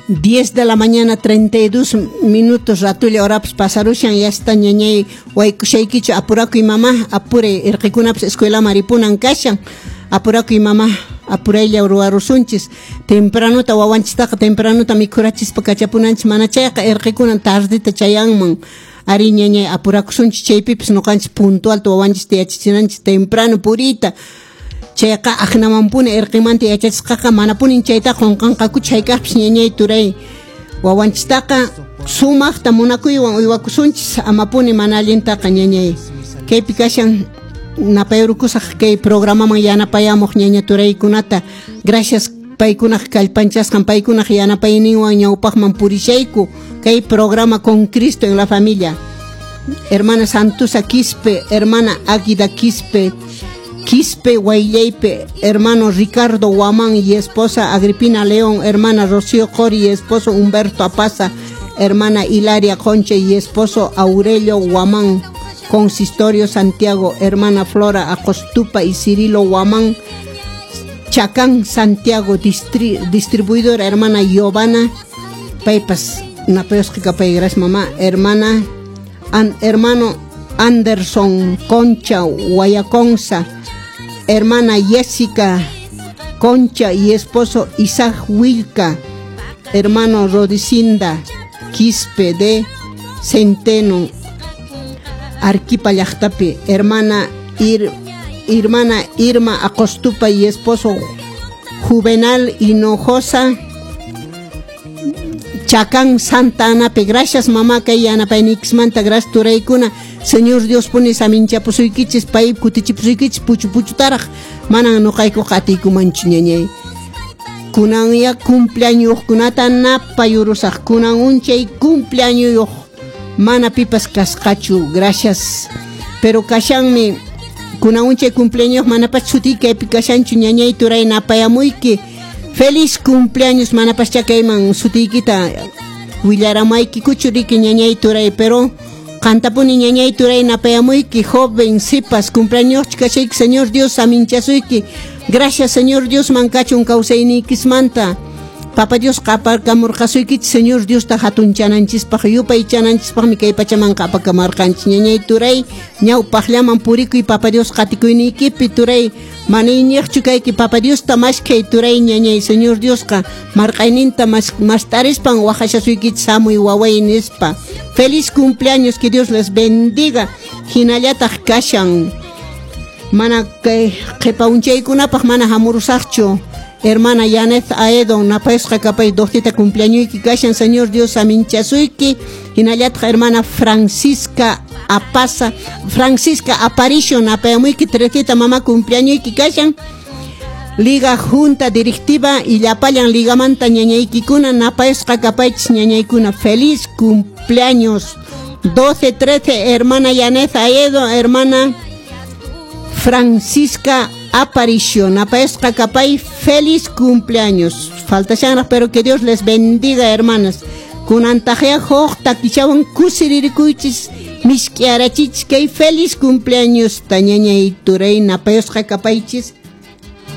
10 de la mañana 32 minutos ratulla horapas pasarushan, ya está ñañay waykushaykichu. Apurakuy mamá, apure, irqikunapas escuelaman ripunan kashan. Apurakuy mamá, apuraylla ruwarusunchis. Tempranuta wawanchistaqa tempranuta mikhurachispa kachapunanchis, mana chayqa irqikunan tardeta chayanman. Ari ñañay, apurakusunchis chaypipis, ñuqanchis puntualta wawanchista yachachinanchis temprano puriyta. Chayqa aqnamanpuni irqimanta yachachisqaqa manapunin chayta qunqanqakuchu hayk'aqpis ñañay turay. Wawanchistaqa sumaqta munakuywan uywakusunchis, amapuni mana allintaqa ñañay. Kaypi kashan napayrukusaq kay programaman yanapayamuq ñaña turaykunata. Gracias, paykunaq kallpanchasqan, paykunaq yanapayninwan ñawpaqman purishayku kay programa Con Cristo en la Familia. Hermana Santusa Quispe, hermana Águida Quispe, Quispe Guaylleipe, hermano Ricardo Guamán y esposa Agripina León, hermana Rocío Cori y esposo Humberto Apaza, hermana Hilaria Concha y esposo Aurelio Guamán, Consistorio Santiago, hermana Flora Acostupa y Cirilo Guamán, Chacán Santiago, distribuidora hermana Giovanna, paypas napayusqa pay, gracias mamá, hermana hermano Anderson Concha Guayaconza, hermana Jessica Concha y esposo Isaac Wilca, hermano Rodicinda Quispe de Centeno, Arquipa llaqtapi, hermana Irma Acostupa y esposo Juvenal Hinojosa, Chacán Santa Anapi. Gracias mamá kay yanapayniykismanta, gracias turaykuna. Señor Dios puni saminchapusuykichis, pay kutichipusuykichis puchu puchutaraq, manan nuqaykuqa atiykumanchu ñañay. Kunan ya cumpleañoskunata napayurusaq, kunan unchay cumpleañoyuq mana pipas kasqachu, gracias. Pero kashanmi kunan unchay cumpleaños, manapas sutiyki kaypi kashanchu ñañay turay, napayamuyki. Feliz cumpleaños, manapas chakayman sutiykita willaramayki riki ñañay turay, pero qantapuni ñañay turay napayamuyki. Joven sipas cumpleaños kashayki, Señor Dios saminchasuyki. Gracias Señor Dios mankachun kawsayniykismanta. Papa Dios qaparkamurqasuykichis Señor Diosta hatunchananchispaq, yupaychananchispaqmi kay pachaman qapakamarqanchis ñañay turay. Ñawpaqllaman purikuy Papa Dios qatikuyniykipi turay, mana iñiqchu kayki, Papa Diosta maskhay turay ñañay. Señor Diosqa marq'ayninta mast'arispan waqashasuykichis hamuy waway nispa. Feliz cumpleaños, que Dios les bendiga. Hinallataq kashan mana kay qhipa unchaykunapaq mana hamurusaqchu. Hermana Yanet Aedo, napayusqa kapay, doctita cumpleañoyki kashan, Señor Dios aminchasuyki. Hinallataq hermana Francisca Apaza, Francisca Aparicio, napayamuyki trecita mamá, cumpleañoyki kashan. Liga Junta Directiva y llapallan ligamanta ñañaykikuna napayusqa kapaychis ñañaykuna. Feliz cumpleaños 12 13, hermana Yanet Aedo, hermana Francisca Aparicio, napayusqa kapay, feliz cumpleaños. Falta pero que Dios les bendiga, hermanas. Kunantaqya huk takichawan kusiririkuychis, misk'iarachichis kay feliz cumpleaños ta ñañay turay, napayusqa kapaychis.